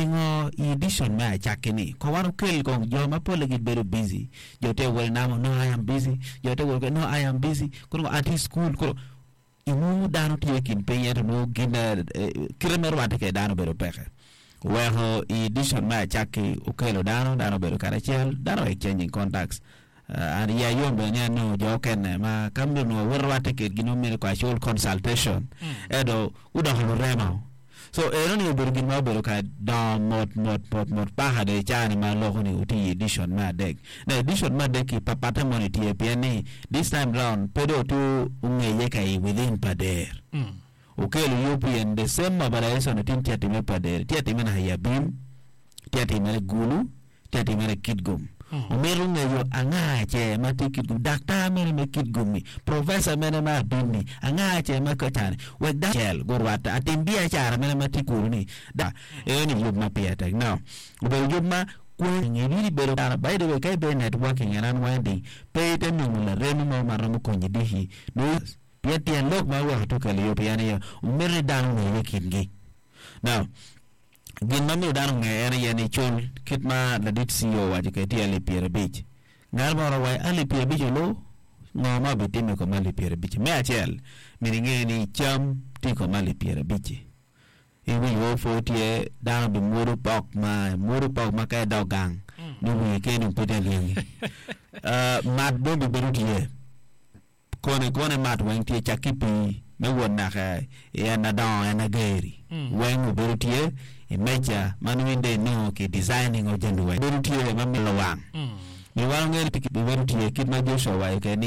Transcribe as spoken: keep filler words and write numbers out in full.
Pingo i edition me acakki-ni ko wan okel kong jo ma polle gibedo busy jo te welo namo no I am busy jo te welo no I am busy kono atye i cukul kono inwongo dano tye i kin piny ento nongo gin kite me rwatte kwede dano obedo peke oweko i edition me acakki okelo dano dano obedo karacel dano exchanging contacts an iya yom bene ni anongo jo okene ma ka onongo warwatte kwedgi nongo myero casual consultation ento gudoko lurema so enoni obedo gin ma obedo ka dongo mot mot mot mot paka dong i caa-ni ma aloko ni otye i edition me adek na edition me adek-ki papatte moni tye pien ni this time round pe dong otye ongeye ka i within Pader okelo U P N the same mobilization tin tye atime Pader tye atime naka i Abim tye atimere Gulu tye atimere Kitgum omito ngeyo anga ce ma tye Kitgum daktar mene me Kitgum-mi professor mene ma Abim-mi anga ce ma kacani wek dano acel gurwatte atim biacara mene ma tye kunu-ni da enoni yub ma pire tek now obedo yub ma kwe bedo dano by the way ka ibedo networking and unwinding pe ite nongo laremi mo ma romo konyi diki nongo pien tyen lok ma oweko tye okelo yub pien aye omito ni dano ongeye i kingi now gin ma miyo dano onge en aye ni cul kit ma ladit C E O owaco kede tye alip pyerabic ngat moro owaco alip pyerabic olu ngo ma obitimo i kom alip pyerabic me acel myero inge ni cam tye i kom alip pyerabic iwinyo pud tye dano bimwodo pok ma mwodo pok ma ka idok gang ni wiyi keni dong pe tye alyengi mat dong bibedo tye kone kone mat weng tye cak ki pii me wot naka i en adongo en ageri weng obedo tye i meja ma nongo in dong inongo ki designing o jami weng bedo tye ma milo wang mi wan ongeyo ni bibedo tye kit ma Joshua owaco kede ni.